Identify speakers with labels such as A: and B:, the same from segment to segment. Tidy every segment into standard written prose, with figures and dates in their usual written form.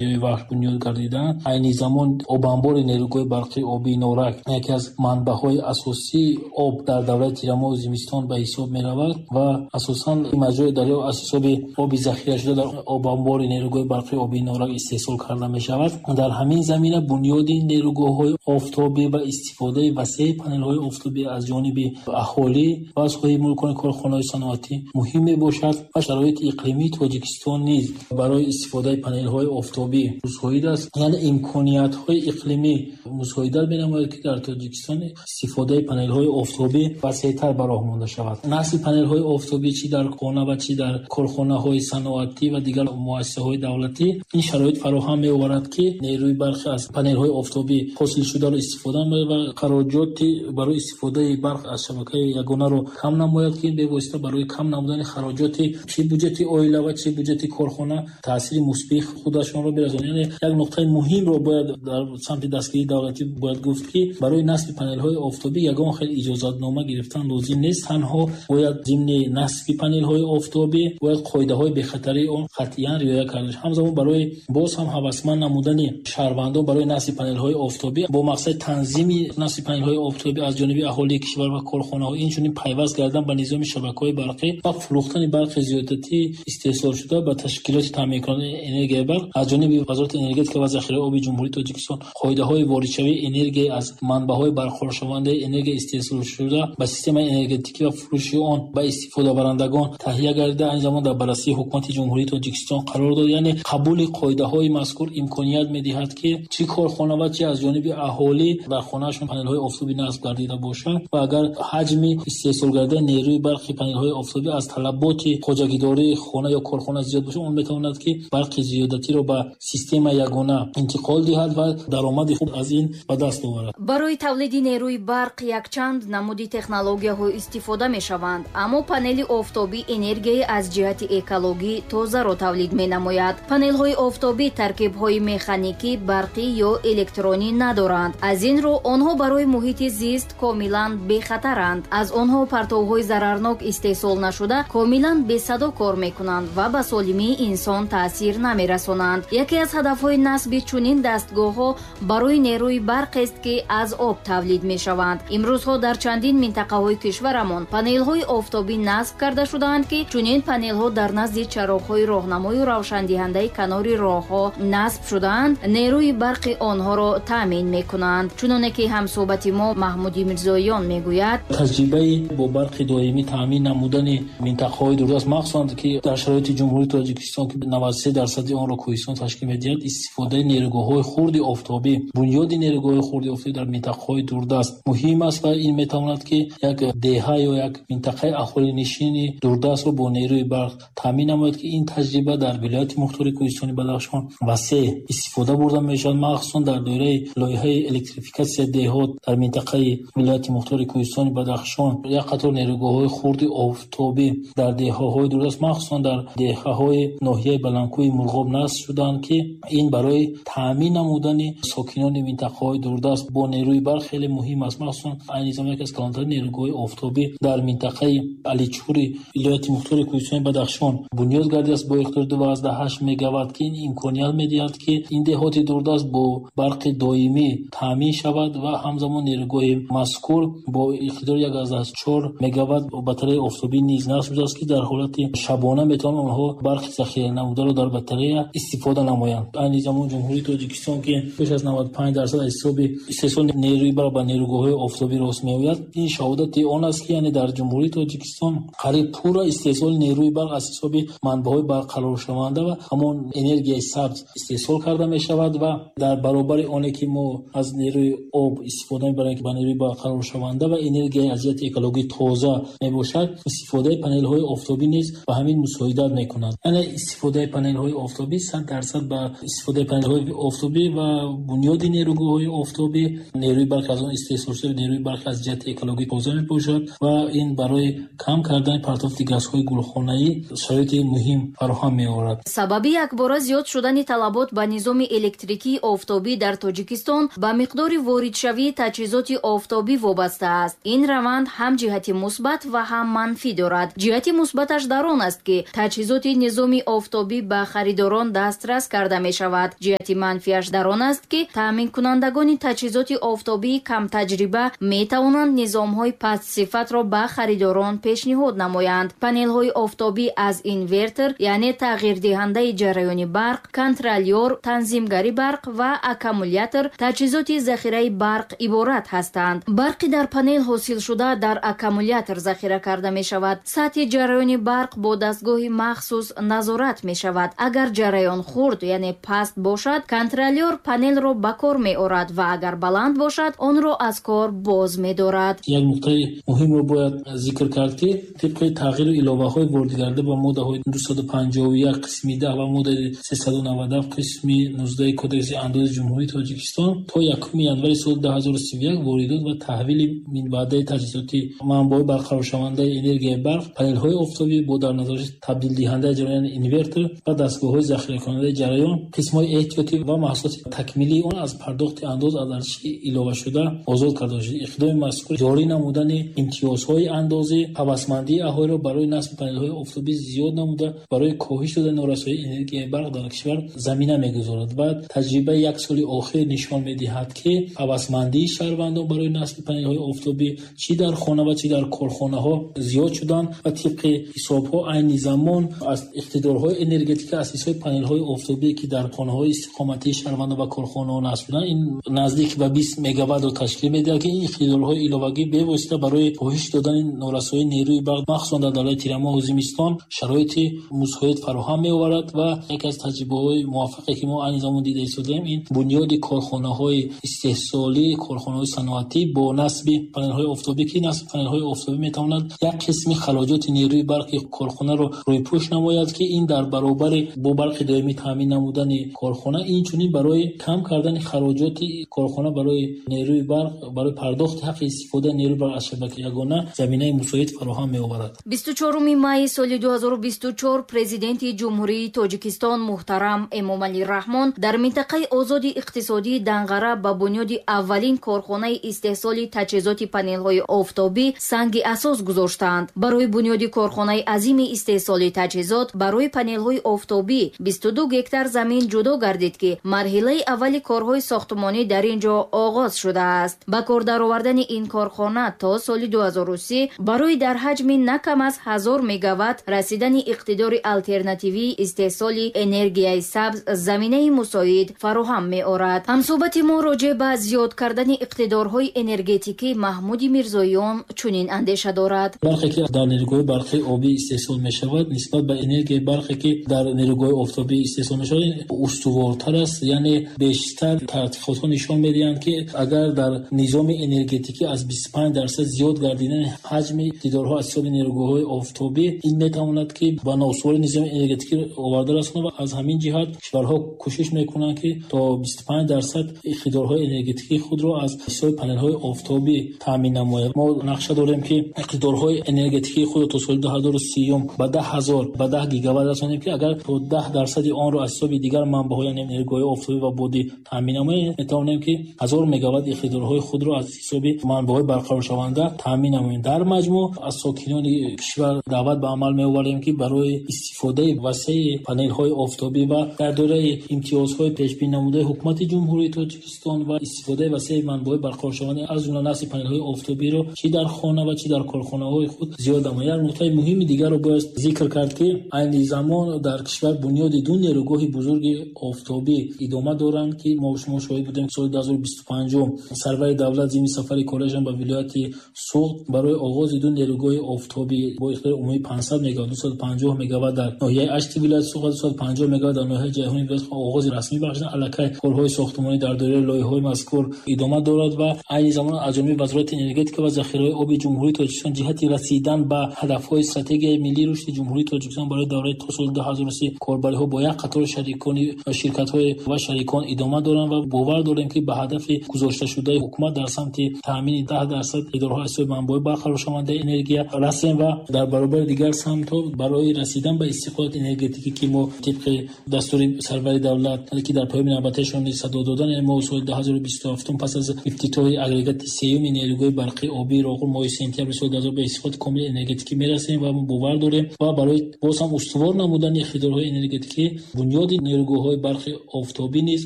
A: Вахш бунёд гардиданд. Айни замон обанбори нерӯгоҳи барқи обии Норак яке аз манбаъҳои асосии об дар давраи тирамоҳу зимистон ба ҳисоб меравад ва асосан маҷрои дарё аз ҳисоби оби захирашуда дар обанбори нерӯгоҳи барқи обии Норак истеҳсол карда мешавад. Дар ҳамин замина бунёди нерӯгоҳҳои офтобӣ ва истифодаи васеи панелҳои офтобӣ аз ҷониби аҳолӣ ва аз соҳибмулкони корхонаҳои саноатӣ муҳим мебошад ва шароити иқлимии Тоҷикистон низ барои истифодаи панелҳои офтобӣ мусоид аст. Яъне имкониятҳои иқлимӣ мусоидат менамояд, ки дар Тоҷикистон истифодаи панелҳои офтобӣ васеътар ба роҳ монда шавад. Насби панелҳои офтобӣ чӣ дар хона ва чӣ дар корхонаҳои саноатӣ ва дигар муассисаҳои давлатӣ ин шароит фароҳам меоварад, ки нерӯи барқи аз панелҳои офтобӣ ҳосилшударо истифода намояд ва хароҷоти барои истифодаи барқ аз шабакаи ягонаро кам намояд, ки бевосита барои кам намудани хароҷоти чӣ буҷети оила ва чӣ буҷети корхона таъсири мусбии худашонро мерасонад. Яъне як нуқтаи муҳимро бояд дар самти дастгирии давлатӣ бояд гуфт, ки барои насби панелҳои офтобӣ ягон хел иҷозатнома гирифтан лозим нест. Танҳо бояд зимни насби панелҳои офтобӣ бояд қоидаҳои бехатарии он қатъиян риоя карда шавад. Ҳамзамон барои боз ҳам ҳавасманд намудани шаҳрвандон барои насби панелҳои офтобӣ бо мақсади танзими насби панелҳои офтобӣ аз ҷониби аҳолии кишвар ва корхонаҳо, инчунин пайваст кардан ба низоми шабакаҳои барқӣ ва фурӯхтани барқи зиёдатӣ истеҳсолшуда ба ташкилоти таъминкунандаи энергияи барқ аз ҷониби Вазорати энергетика ва захираҳои оби Ҷумҳурии Тоҷикистон қоидаҳои воридшавии энергия аз манбаъҳои барқароршавандаи энергия истеҳсолшуда ба системаи энергетикӣ ва фурӯши он ба истифодабарандагон таҳия гардида, айни замон дар баррасии Ҳукумати Ҷумҳурии Тоҷикистон қарор дод. Яъне қабули қоидаҳои мазкур имконият медиҳад, ки чӣ корхона ва чӣ аз ҷониби аҳолӣ дар хонаашон панелҳои офтобӣ насб гардида бошанд ва агар ҳаҷми истеҳсол гардидаи нерӯи барқи панелҳои офтобӣ аз талаботи хоҷагидории хона ё корхона зиёд бошад, он метавонад, ки барқи зиёдатиро ба системаи ягона интиқол диҳад ва даромади хуб аз ин ба даст оварад.
B: Барои тавлиди нерӯи барқ якчанд намуди технологияҳо истифода мешаванд, аммо панели офтобӣ энергияи аз ҷиҳати экологӣ тозаро тавлид менамояд. Панелҳои офтобӣ таркибҳои механикӣ, барқӣ ё электронӣ надоранд. Аз ин рӯ онҳо барои муҳити зист комилан бехатаранд. Аз онҳо партовҳои зарарнок истеҳсол нашуда, комилан бесадо кор мекунанд ва ба солимии инсон таъсир намерасонанд. Яке аз ҳадафҳои насби чунин дастгоҳҳо барои нерӯи барқест, ки аз об тавлид мешаванд. Имрӯзҳо дар чандин минтақаҳои кишварамон панелҳои офтобӣ насб карда шудаанд, ки чунин панелҳо дар назди чароғҳои роҳнамою равшандиҳандаи канори роҳҳо насб шудаанд, нерӯи барқи онҳоро таъмин мекунанд. Чуноне ки ҳамсӯҳбати мо Маҳмуди Мирзоён мегӯяд,
A: таҷрибаи бо барқи доимӣ таъмин намудани минтақаҳои дурдаст, махсусан ки дар шароити Ҷумҳурии Тоҷикистон, ки 93% онро кӯҳистон ташкил медиҳад, истифодаи нерӯгоҳҳои хурди офтобӣ, бунёди нерӯгоҳҳои хурди офтобӣ дар минтақаҳои дурдаст муҳим аст ва ин метавонад, ки як деҳа ё як минтақаи аҳолинишини дурдастро бо нерӯи барқ таъмин намояд, ки ин таҷриба дар вилояти мухтори кӯҳистони Бадахшон васеъ истифода бурда мешавад, махсусан дар доираи лоиҳаи электрификатсияи деҳот дар минтақаи вилояти мухтори кӯҳистони Бадахшон як қатор нерӯгоҳҳои хурди офтобӣ дар деҳаҳои дурдаст, махсусан дар деҳаҳои ноҳияи Баландкӯҳи Мурғоб насб шуданд, ки ин барои таъмин намудани сокинони минтақаҳои дурдаст бо нерӯи барқ хеле муҳим аст. Махсусан айни замон яке аз калонтарин нерӯгоҳҳои офтобӣ дар минтақаи Аличури вилояти мухтори кӯҳистони Бадахшон бунёд гардидааст бо иқтидори 2,8 мегаватт, ки ин имконият медиҳад, ки ин деҳоти дурдаст бо барқи доимӣ таъмин шавад ва ҳамзамон нерӯгоҳи мазкур бо иқтидори 1,4 мегаватт батареяи офтобӣ низ насб шудааст, ки дар ҳолати шабона метавонанд онҳо барқи захира намударо дар батарея истифода намоянд. Айни замон Ҷумҳурии Тоҷикистон, ки беш аз 95% аз ҳисоби истеҳсоли нерӯи барқ ба нерӯгоҳҳои офтобӣ рост меояд, ин шаҳодати он аст, ки яъне дар Ҷумҳурии Тоҷикистон қариб пурра истеҳсоли нерӯи барқ аз ҳисоби манбаъҳои барқароршаванда ва ҳамон энергияи сабз истеҳсол карда мешавад ва дар баробари оне ки мо аз нерӯи об истифода мебарем, ки ба нерӯи барқароршаванда ва энергияи аз ҷиҳати экологӣ тоза мебошад, истифодаи панелҳои офтобӣ низ ба ҳамин мусоидат мекунад. Яъне истифодаи панелҳои офтобӣ 100% ба истифодаи панелҳои офтобӣ ва бунёди нерӯгоҳҳои офтобӣ нерӯи барқ аз он истеҳсол шуда нерӯи барқ аз ҷиҳати экологӣ тоза мебошад ва ин барои кам кардани партофти газҳои гулхонаӣ шароити муҳим фароҳам меорад.
B: Сабаби якбора зиёд шудани талабот ба низоми электрикии офтобӣ дар Тоҷикистон ба миқдори воридшавии таҷҳизоти офтобӣ вобаста аст. Ин раванд ҳам ҷиҳати мусбат ва ҳам манфӣ дорад. Ҷиҳати мусбаташ дар он аст, ки таҷҳизоти низоми офтобӣ ба харидорон дастрас карда мешавад. Ҷиҳати манфиаш дар он аст, ки таъминкунандагони таҷҳизоти офтобии камтаҷриба метавонанд низомҳои пастсифатро ба харидорон пешниҳод намоянд. Панелҳои офтобӣ аз инвертор, яъне тағйирдиҳандаи ҷараёни барқ, контролёр, танзимгари барқ ва аккумулятор, таҷҳизоти захираи барқ иборат ҳастанд. Барқи дар панел ҳосилшуда дар аккумулятор захира карда мешавад. Сатҳи ҷараёни барқ бо дастгоҳи махсус назорат мешавад. Агар ҷараён хурд, яъне паст бошад, контролёр панелро ба кор меорад ва агар баланд бошад, онро аз кор боз медорад.
A: Як нуқтаи муҳимро бояд зикр кард, ки тибқи тағйиру иловаҳои воридгарда ба моддаҳои 251 қисми 10 ва моддаи 397 қисми 19 Кодекси андози Ҷумҳурии Тоҷикистон то 1 январи соли 2031 воридот ва таҳвили минбаъдаи таҷҳизоти манбаъҳои барқароршавандаи энергияи барқ, панелҳои офтобӣ бо дар назардошти табдилдиҳандаи ҷараён инвертор ва дастгоҳҳои захиракунандаи ҷараён, қисмҳои эҳтиётӣ ва маҳсулоти такмилии он аз пардохти андоз аз арзиши иловашуда озод карда шуд. Иқдоми мазкур ҷорӣ намудани имтиёзҳои андозӣ, ҳавасмандии аҳолиро барои насби панелҳои офтобӣ зиёд намуда, барои коҳиш додани норасоии энергияи барқ дар кишвар замина мегузорад ва таҷрибаи як соли охир нишон медиҳад, ки ҳавасмандии шаҳрвандон барои насби панелҳои офтобӣ чӣ дар хона ва чӣ дар корхонаҳо зиёд шуданд ва тибқи ҳисобҳо айни замон аз иқтидорҳои энергетика аз ҳисоби панелҳои офтобӣ, ки дар хонаҳои истиқоматии шаҳрвандон ва корхонаҳо насб шуданд, ин наздик ба 20 мегаваттро ташкил медиҳад, ки ин иқтидорҳои иловагӣ бевосита барои коҳиш додани норасоии нерӯи барқ, махсусан дар давраи тирамоҳу зимистон, шароити мусоид фароҳам меоварад. Ва яке аз таҷрибаҳои муваффақе, ки мо айни замон дида истодаем, ин бунёди корхонаҳои истеҳсолӣ, корхонаҳои саноатӣ бо насби панелҳои офтобӣ, ки насби панелҳои офтобӣ метавонад як қисми хароҷоти нерӯи барқи корхонаро рӯйпӯш намояд, ки ин дар баробари бо барқи доимӣ таъмин намудани корхона, инчунин барои кам кардани хароҷоти корхона барои нерӯи барқ, барои пардохти ҳаққи истифодаи нерӯи барқ аз шабакаи ягона заминаи мусоид фароҳам меоварад.
B: 24 майи соли 2024 Президенти Ҷумҳурии Тоҷикистон муҳтарам Эмомалӣ Раҳмон дар минтақаи озоди иқтисодии Данғара ба бунёди аввалин корхонаи истеҳсоли таҷҳизоти панелҳои офтобӣ санги асос гузоштанд. Барои бунёди корхонаи азими истеҳсоли таҷҳизот барои панелҳои офтобӣ 22 гектар замин ҷудо гардид, ки марҳилаи аввали корҳои сохтмонӣ дар ин ҷо оғоз шудааст. Ба кор даровардани ин корхона то соли 2030 барои дар ҳаҷми на кам аз 1000 мегаватт расидани иқтидори алтернативии истеҳсоли энергияи сабз заминаи мусоид фароҳам меорад. Ҳамсӯҳбати мо роҷеъ ба зиёд кардани иқтидорҳои энергетикӣ Маҳмуди Мирзоён чунин андеша дорад.
A: Барқе, ки дар нерӯгоҳи барқи обӣ истеҳсол мешавад, нисбат ба энергияи барқе, ки дар нерӯгоҳи офтобӣ истеҳсол мешавад, устувортар аст. Яъне бештар таҳқиқотҳо нишон медиҳанд, ки агар дар низоми энергетикӣ аз 25% зиёд гардидани ҳаҷми иқтидорҳо аз ҳисоби нерӯгоҳҳои офтобӣ, ин метавонад, ки ба ноустувории низоми энергетикӣ оварда расонад ва аз ҳамин ҷиҳат кишварҳо кӯшиш мекунанд, ки то 25% иқтидорҳои энергетикии худро аз ҳисоби панелҳои офтобӣ таъмин намояд. Мо нақша дорем, ки иқтидорҳои энергетикии худро то соли 2030 ба 10 000, ба 10 гигаватт расонем, ки агар то 10% онро аз ҳисоби дигар манбаъҳо, яъне нерӯгоҳҳои офтобӣ ва бодӣ таъмин намоем, метавонем, ки 1000 мегаватт иқтидорҳои худро аз ҳисоби манбаъҳои барқароршаванда таъмин намоем. Дар маҷмӯъ аз сокинони кишвар даъват ба амал меоварем, ки барои истифодаи васеи панелҳои офтобӣ ва дар доираи имтиёзҳои пешбинӣ намудаи Ҳукумати Ҷумҳурии Тоҷикистон ва истифодаи васеи манбаъҳои барқароршаванда, аз ҷумла насби панелҳои офтобиро чӣ дар хона ва чӣ дар корхонаҳои худ зиёд намояд. Як нуқтаи муҳими дигарро бояд зикр кард, ки айни замон дар кишвар бунёди ду нерӯгоҳи бузурги офтобӣ идома доранд, ки мо шумо шоҳид будем. Соли 2025 сарвари давлат зимни сафари кориашон ба вилояти Суғд барои оғози ду нерӯгоҳи офтобӣ бо иқтидори умумии 500 мегаватт, 250 мегаватт дар ноҳияи Ашти вилояти Суғд ва 250 мегаватт дар ноҳияи Ҷайҳуни вилояти оғози расмӣ бахшиданд. Аллакай корҳои сохтмонӣ дар доираи лоиҳаҳои мазкур идома дорад ва айни замон аз ҷониби Вазорати энергетика ва захираҳои оби Ҷумҳурии Тоҷикистон ҷиҳати расидан ба ҳадафҳои стратегияи миллии рушди Ҷумҳурии Тоҷикистон барои давраи то соли 2030 корбариҳо бо як қатор шарикони ширкатҳои ва шарикон идома доранд ва бовар дорем, ки ба ҳадафи гузошташудаи ҳукумат дар самти таъмини 10% иқтидорҳо аз ҳисоби манбаъҳои барқароршавандаи энергия расем ва дар баробари дигар самтҳо барои расидан ба истиқлолияти энергетикӣ, ки мо тибқи дастури сарвари давлат, ки дар паёми навбатиашон низ садо додан, яъне мо соли 2027 пас аз ифтитоҳи агрегати сеюми нерӯгоҳи барқии обии Роғун моҳи сентябри соли 2000 ба истиқлолияти комили энергетикӣ мерасем ва мо бовар дорем ва барои боз ҳам устувор намудани иқтидорҳои энергетикӣ бунёди Бунёди нерӯгоҳҳои барқи офтобӣ низ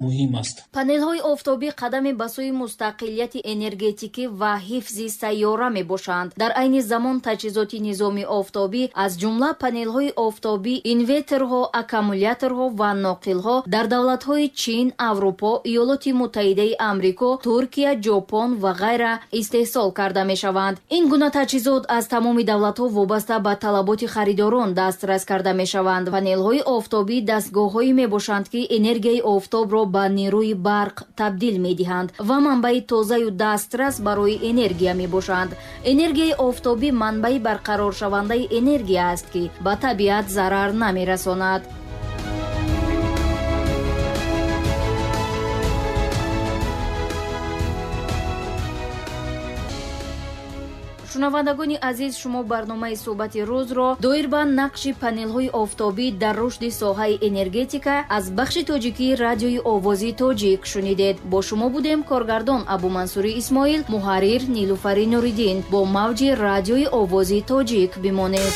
A: муҳим аст.
B: Панелҳои офтобӣ қадаме ба сӯи мустақилияти энергетикӣ ва ҳифзи сайёра мебошанд. Дар айни замон таҷҳизоти низоми офтобӣ, аз ҷумла панелҳои офтобӣ, инверторҳо, аккумуляторҳо ва ноқилҳо дар давлатҳои Чин, Аврупо, Иёлоти Муттаҳидаи Амрико, Туркия, Ҷопон ва ғайра истеҳсол карда мешаванд. Ин гуна таҷҳизот аз тамоми давлатҳо вобаста ба талаботи харидорон дастрас карда мешаванд. Панелҳои офтобӣ дастгоҳҳое мебошанд, ки энергияи офтобро ба нерӯи барқ табдил медиҳанд ва манбаи тозаю дастрас барои энергия мебошанд. Энергияи офтобӣ манбаи барқароршавандаи энергия аст, ки ба табиат зарар намерасонад. Шунавандагони азиз, шумо барномаи суҳбати рӯзро доир ба нақши панелҳои офтобӣ дар рушди соҳаи энергетика аз бахши тоҷикии радиои Овози Тоҷик шунидед. Бо шумо будем коргардон Абумансури Исмоил, муҳаррир Нилуфари Нуриддин. Бо мавҷи радиои Овози Тоҷик бимонед.